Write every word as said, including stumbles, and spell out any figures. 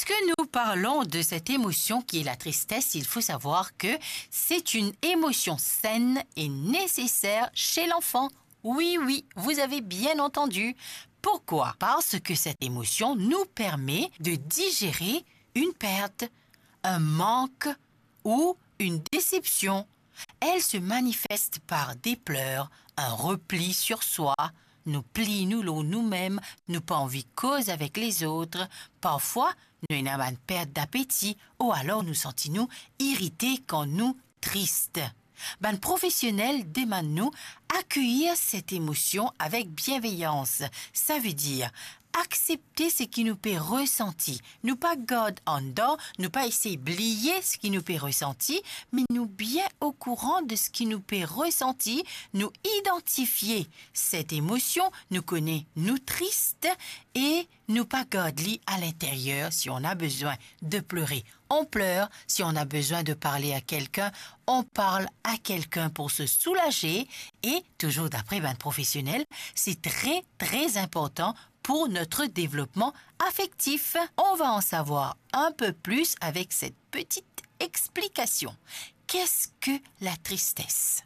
Lorsque nous parlons de cette émotion qui est la tristesse, il faut savoir que c'est une émotion saine et nécessaire chez l'enfant. Oui, oui, vous avez bien entendu. Pourquoi ? Parce que cette émotion nous permet de digérer une perte, un manque ou une déception. Elle se manifeste par des pleurs, un repli sur soi, nou pliy nou lor noumem, nou pa anvi koz avek lezot. Parfwa, nou ena bann pert dapeti, ou alor nou santi nou irite kan nou tris. Bann profesionel demann nou akeyir set emosion avek bienveyans. Savedir, aksepte seki nou pe resanti. Nou pa gard andan, nou pa esey bliye seki nou pe resanti, me nou bien okouran de seki nou pe resanti, nou idantifie set emosion, nou kone nou tris e nou pa gard li a linteryer. Si on a besoin de pleurer, on pleure. Si on a besoin de parler à quelqu'un, on parle à quelqu'un pour se soulager. Et toujours d'après bann profesionel, c'est très, très important pour notre développement affectif. On va en savoir un peu plus avec cette petite explication. Qu'est-ce que la tristesse ?